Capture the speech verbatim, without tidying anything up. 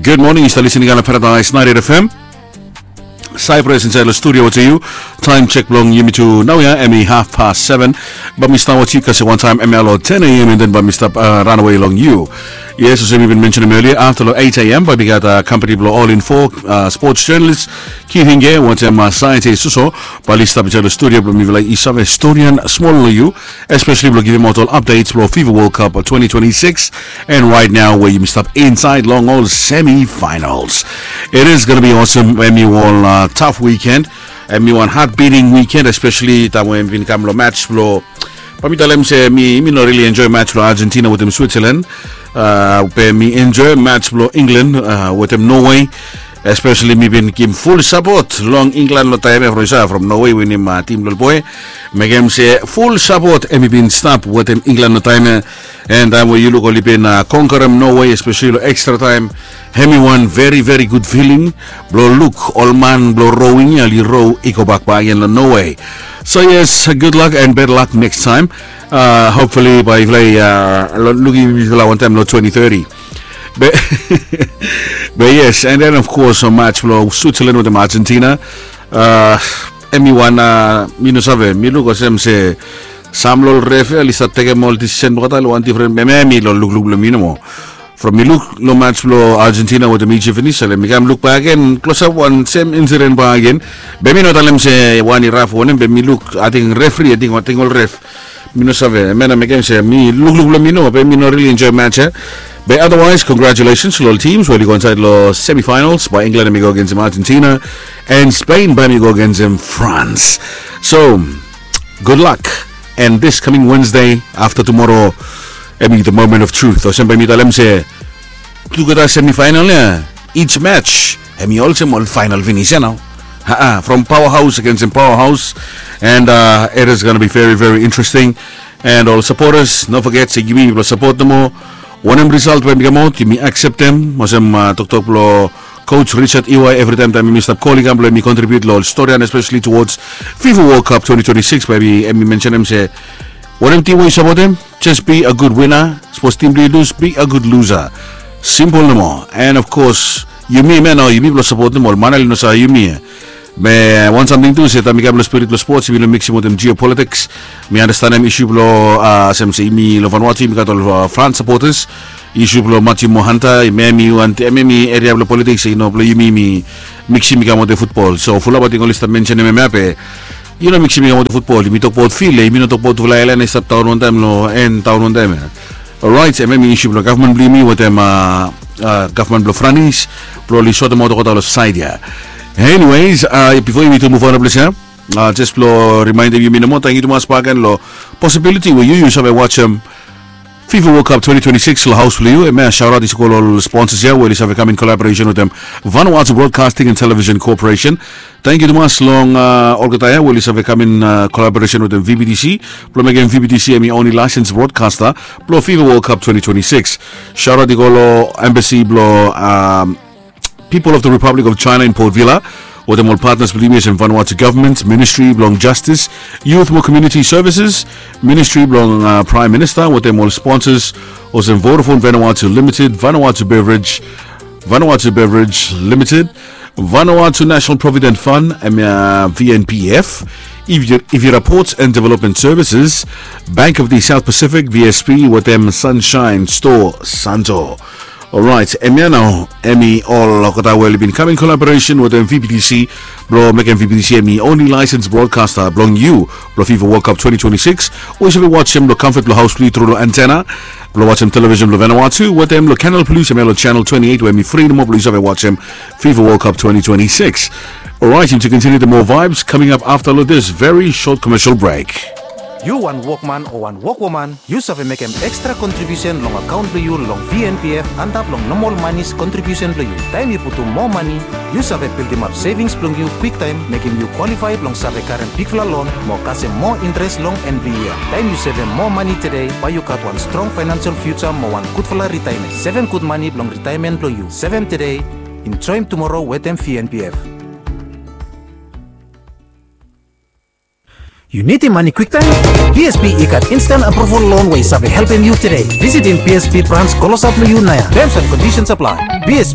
Gud moning, yu stap listening long Paradise ninety-eight F M. Cyprus insaed long studio wetem yu. Taem sek blong yumi tu naoia hemi haf pas seven. Bae mi stap wetem yu kasem wantaem hemia long ten A M, and then bae mi stap ranawe long yu. Yes, olsem mi bin mensenem elia, afta long eight A M bae mi gat kampani blong All Info sports journalist Keith Hinge wetem Saite Suso. Bae oli stap insaed long studio blong mifala i save storian smol long yu, espeseli blong givimaot ol updates blong FIFA World Cup twenty twenty-six. And right now we yumi stap insaed long ol semifinals. It is gonna be awesome. Hemi wan taf wikend, hemi wan heart beating wikend, espeseli taem we hemi bin kam long match blong, bae mi talem se mi mi no rili enjoe match blong Argentina wetem Switzerland. Be mi enjoe match blong England wetem Norway. Espeseli mi bin givim ful sapot long England long taem ia from, from Norway winim tim blong ol boe. Mekem se ful sapot hemi bin stap wetem England long taem ia. And taem we yu luk oli bin konkerem Norway, espeseli long extra time, hemi wan very very good feeling blong luk ol man blong rowing ia oli row i gobak bakegen long Norway. So yes, good luck and better luck next time. Hopefully bae yufala i lukim yufala wantaem long twenty thirty. Be yes, and then of course match blong Switzerland wetem Argentina. Hemi wan, mi no save, mi luk olsem se sam long ol ref ia oli stap tekem ol decision blong olgeta long wan difren, be hemi long lukluk blong mi nomo. From mi luk long match blong Argentina wetem Egypt finis, ale mi kam luk bakegen klosap wan sem incident bakegen. Be mi no talem se wan i raf o wanem, be mi luk ating refri, ating ol ref, mi no save, hemia nao mekem se mi lukluk blong mi nomo, be mi no rili enjoe match ia. Be otherwise congratulations long ol teams we oli go insaed long semifinals. Bae England hemi go agensem Argentina, and Spain bae hemi go agensem France. So good luck. And this coming Wednesday, afta tumoro, hemi the moment of truth, olsem bae mi talem se tugeta semifinal ia, each match hemi olsem ol final finis ia nao. From powerhouse agensem powerhouse. And it is gonna be very very interesting. And ol supporters, no foget se yumi mifala sapot nomo. Wanem result we hemi kamaot yumi akseptem, olsem toktok blong Coach Richard Iwai evritaem taem yumi stap kol i kam blong hemi contribute long ol storian, espeseli towards FIFA World Cup twenty twenty-six, bae hemi mensenem se wanem tim we yu sapotem, just be a good winner. Sapos tim blong yu lus, be a good loser. Simpel nomo. And of course yumi hemia nao yumi blong sapotem ol man ia oli no save yumi ia. Be wan samting tu se taem i kam long spirit blong sports yumi no miksim wetem geopolitics. Mi andastanem isu blong, olsem se yumi long Vanuatu yumi gat ol France supporters. Isu blong Matthew Mohanta, hemia hemi eria blong politiks, i no blong yumi mi miksim i kam wetem futbol. So fulap ating oli stap mensenem hemia be i no miksim i kam wetem futbol. Yumi tokbaot fil ia, yumi no tokbaot fulap aelan ia i stap daon wantaem long en daon wantaem ia. Orait, hemia hemi isu blong gavman blong yumi wetem gavman blong Franis blong oli sotemaot olgeta long saed ia. Anyways, bifo yumi tu muv on long ples ia, jes blong rimaendem yumi nomo, tangkiu tumas bakegen long posibiliti we yu yu save wajem FIFA World Cup twenty twenty-six long haos blong yu. Hemia shaotaot i save go long ol sponsors ia we oli save kam in collaboration wetem Vanuatu Broadcasting and Television Corporation. Tangkiu tumas long olgeta ia we oli save kam in collaboration wetem VBTC blong mekem VBTC hemi only licensed broadcaster blong FIFA World Cup twenty twenty-six. Shaotaot i go long embassy blong People of the Republic of China in Port Vila, wetem ol partners blong yumi olsem Vanuatu Government, Ministry blong Justice, Youth mo Community Services, Ministry blong Prime Minister, wetem ol sponsors olsem Vodafone Vanuatu Limited, Vanuatu Beverage, Vanuatu Beverage Limited, Vanuatu National Provident Fund, hemia VNPF, Ivira Ports and Development Services, Bank of the South Pacific, VSP, wetem Sunshine Store Santo. Orait, hemia nao hemi ol olgeta we oli bin kam in collaboration wetem VBTC blong mekem VBTC hemi only licensed broadcaster blong yu blong FIFA World Cup twenty twenty-six, we yu save wajem long comfort blong haos blong yu tru long antenna blong wajem television blong Vanuatu wetem long Canal Plus, hemia long channel twenty-eight we hemi fri nomo blong yu save wajem FIFA World Cup twenty twenty-six. Orait, yumi tu continue the more vibes coming up afta long this very short commercial break. Yu wan wokman o wan wokwoman, yu save mekem extra contribution long account blong yu long VNPF antap long normal monies contribution blong yu. Taem yu putum moa mani, yu save bildimap savings blong yu kwiktaem, mekem yu qualify blong save karem bigfala loan mo kasem moa interest long en blong yia. Taem yu sevem moa mani tede, bae yu gat wan strong financial future mo wan gudfala retirement. Sevem gud mani blong retirement blong yu. Sevem tede, enjoem tumoro wetem VNPF. Yu nidim mani kwiktaem? BSP i gat instant approval loan we i save helpem yu tede. Visitim BSP branch klosap long yu naoia. Terms and conditions apply. BSP